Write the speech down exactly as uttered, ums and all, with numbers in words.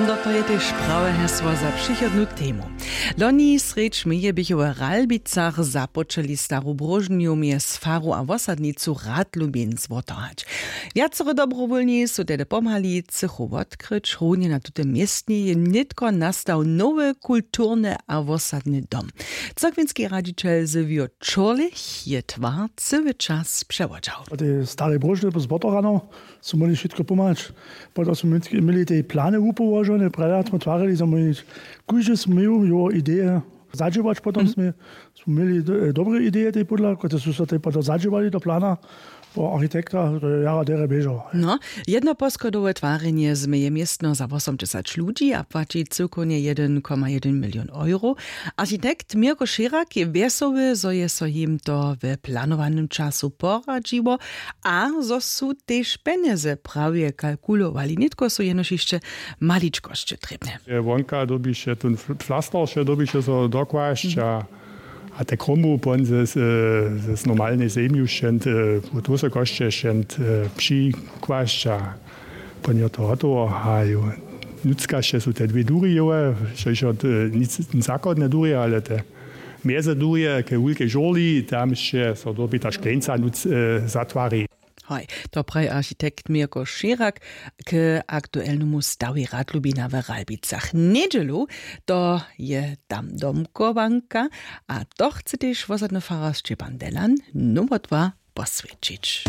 No to je tež prawe hesło za přichodnu temu. Loni srjedź meje běchu w Ralbicach započeli staru bróžnju mjez faru a wosadnicu Radlubin zwotohać. Wjacere dobrowólni su tehdy pomhali cychu wotkryć. Runje na tutym městnje je nětko nastał nowy kulturny a wosadny dom. Cyrkwinski radźićel Sylwio Čurlich je twar cyły čas přewodźał. Tej starej bróžny zwotohano su móhli wšitko pomhać. Potom su měli tej plany wupołožone, prjada smo twarili, zo móhli kóždy směł jeho ideje zadźěłać. Potom smy smy měli do- dobre ideje tej pódla, kotrež su so tej potom zadźěłali do plana po architekta, to je jara derje běžało. No, jednoposchodowe twarjenje změje městno za wosomdźesać ludźi a płaći cyłkownje jedyn koma jedyn milion euro. Architekt Mirko Šěrak je wjesoły, zo je so jim to w planowanym času poradźiło a zo su tež pjenjezy prawje kalkulowali. Nětko su jenož hišće maličkosće trěbne. Wonka dyrbiše tón fl- flaster wše dyrbiše so dokłasć a a te kromu pon ze z normalnej zemju wšent wót wysokosće wšent přikłasć a pon jo to hotowo a jo. Nutřkaše su te dwě durje jowe, štož jo nic zachodne durje ale te mjeze durje ke wulkej žurli tamše so dyrbi ta škleńca nutř zatwari. Hoj, to praji architekt Mirko Šěrak k aktuelnemu stawej Radlubina w Ralbicach njedźelu. To je tam domkowanka a to chce tež wosadny farar Šćepan Delan nowo dwa poswjećić.